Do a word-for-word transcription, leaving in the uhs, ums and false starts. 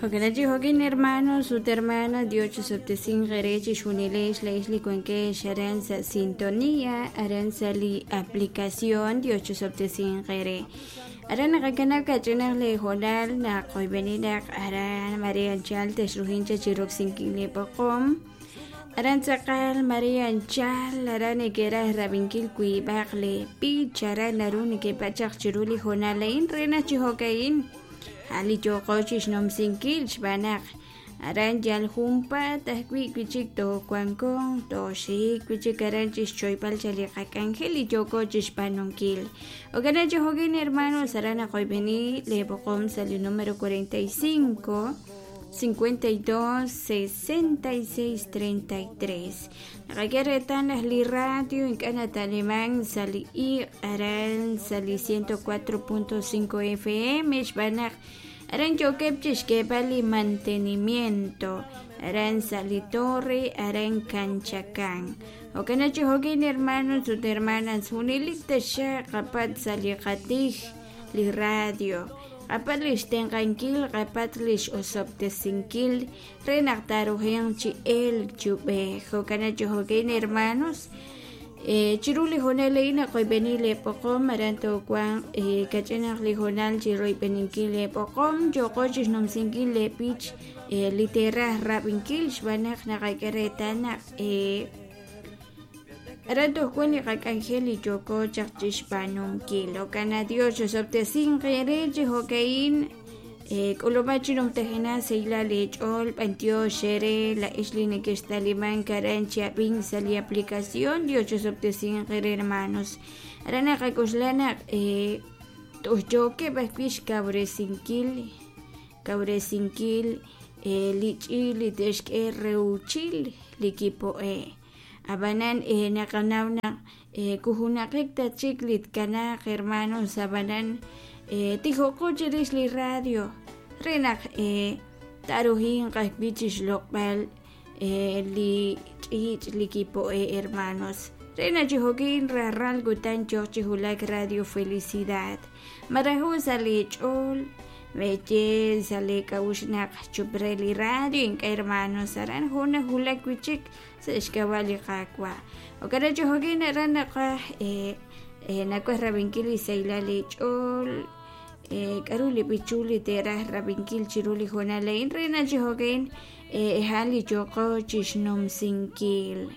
Jo'kan jo'kin hermanos ut hermanas Dios chisub'tesinq eere chixjunilex la'ex li wankex aran sa' sintonía aran sa' li aplicación Dios chisub'tesinq eere aran naqakanab' kach'inaq li hoonal naq qoyb'eninaq aran María anchal texrujincha chiroksinkil li b'oqom aran tz'aqal María anchal aran neke'raj rab'inkil wiib'aq li b'ich aran naru nekeb'achaq chiru li hoonal a'in re naq chi jo'ka'in li yo'qo chixnumsinkil xb'aan naq aran yal junpaat ajwi' wi'chik toowanko tooxik wi'chik aran chixchoyb'al cha li qak'anjel li yooko chixb'aanunkil. Jo'kan chi jo'kin hermanos aran naqoyb'eni li b'oqom sa' li número cuarenta y cinco cincuenta y dos sesenta y seis treinta y tres. Naqak'e reetal naq li radio ink'a' nata'liman sa' li iq' aran sa' li ciento cuatro punto cinco F M xb'aan naq aran yookeb' chixk'eeb'al li mantenimiento aran sa' li torre aran Canchacan. Jo'kan chi jo'kin hermanos ut hermanas junelik taxaq qapat sa' li qatij li radio qapat li xtenq'ankil qapat li x'osob'tesinkil re naq taarujenq chi elk chub'ej. Jo'kan chi jo'kin hermanos eh, chiru li hoonal a'in naqoyb'eni li b'oqom aran toowanq eh, kach'inaq li hoonal chi royb'eninkil li b'oqom yo'qo chixnumsinkil li b'ich eh, li teeraj rab'inkil xb'aan naq naqak'e reetal naq eh, aran toj wan li qak'anjel li yooko chaq chixb'aanunkil. Jo'kan Dios chixob'tesinq eere chi jo'ka'in eh, k'ulub'a chi numtajena seyla li ch'ool b'antiox eere la'ex li nekextaliman aran chi ab'in sa' li aplicación Dios chixob'tesinq eere hermanos. Aran naqak'uxla naq eh, toj yookeb' ajwi' xkawresinkil kawresinkil eh, li ch'iil li te'xk'e reuchil li kipo'e. Ab'anan eh, naqanaw naq eh, kujunaqik ta chik li tkanaq hermanos ab'anan eh, tijoqo chirix li radio re naq eh, taarujinq ajwi' chixloq'b'al eh, li ch'iich' li kipo'e hermanos re naq chi jo'kin rajlal kutan yoq chi wulak Radio Felicidad maraju sa' li ch'ool meye sa' li k'a'uxl naq chup re li radio ink'a' hermanos aran jun najulak wi'chik sa' xk'ab'a' li Qaawa'. Jo'kan chi jo'kin aran naqaj eh, eh, nawaj rab'inkil li sahilal li ch'ool eh, k'aru li b'ichul li teeraj rab'inkil chiru li hoonal a'in re naq chi jo'kin eh, ha'an li yooqo chixnumsinkil.